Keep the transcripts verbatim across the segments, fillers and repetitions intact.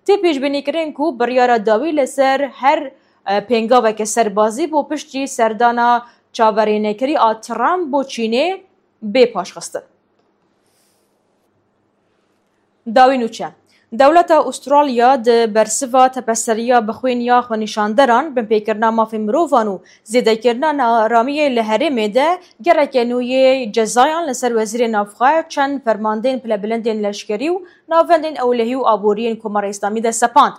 Tê pêşbînîkirin ku biryara dawî li ser her, e, pêngaveke serbazî bo piştî serdana çaverênekerî a Trump bo Çînê bê paşxistin. Dawî nûçe. Dewleta Ûstralya di bersiva tepeseriya bi xwîn ya xwenîşanderan, binpêkirina mafê mirovan û zêdekirina naramiyê li herêmê de gereke nû yê cezayan li ser wezîrê navxwe, çend fermandeyên pilebilindên leşkerî û navendên ewlehî û aboriyên Komara Îslamî de sepand.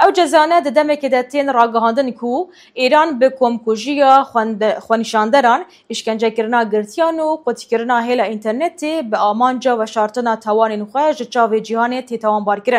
Ew cezane di demekê de tên ragihandin ku Îran bi komkujiya xwende-, xwenîşanderan, îşkencekirina girtiyan û qutkirina hêla înternetê bi amanca veşartina tawanên xwe ji çavê cîhanê tê tawanbarkirin.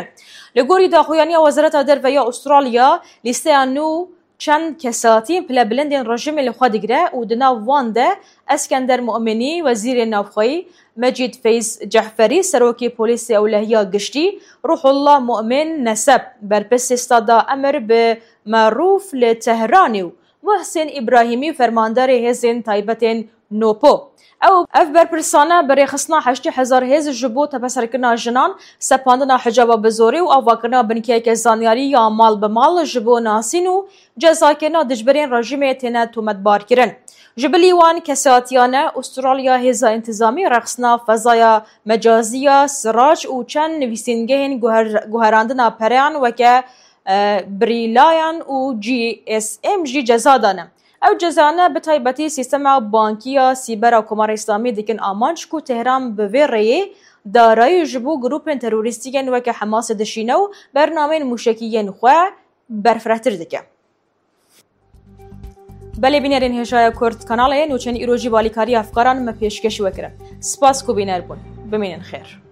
Li gorî daxuyaniya Wezareta Derve ya Ûstralya, lîsteya nû çend kesatiyên pilebilindên rejîmê li xwe digire û di nav wan de Eskender Mu'minî, wezîrê navxweyî, Mecîd Feyz Cehferî, serokê polîsê ewlehiya giştî, Ruhullah Mu'min Neseb, berpirsê Stada Emir bi Merûf li Tehranê û Muhsin Îbrahîmî, fermandarê hêzên taybetên Nopo. Ew, ev berpirsane bi rêxistina heştê hezar hêz ji bo tepeserkirina jinan, sepandina hicaba bi zorê û avakirina binkeyeke zanyarî ya mal bi mal ji bo nasîn û cezakirina dijberên rejîmê têne tometbar kirin. Ji bilî wan kesatiyane, Ûstralya hêza întizamî rêxistina fezaya mecazî ya Sirac û çend nivîsîngehên guher-, guherandina pereyan weke, e, Brilliant û G S M jî ceza dane. Ew cezane bi taybetî sîstema bankî ya sîber a Komara Îslamî dikin amanc ku Tehran bi vê rêyê darayî ji bo grûpên terorîstî yên weke Hemasê dişîne û bernameyên mûşekî yên xwe berfirehtir dike. Belê bînerên hêjaya Kurd kanalê nûçeyên îro jî balîkariya efkaran me pêşkêş we kirin. Spas ku bîner bûn. Bimînin xêr.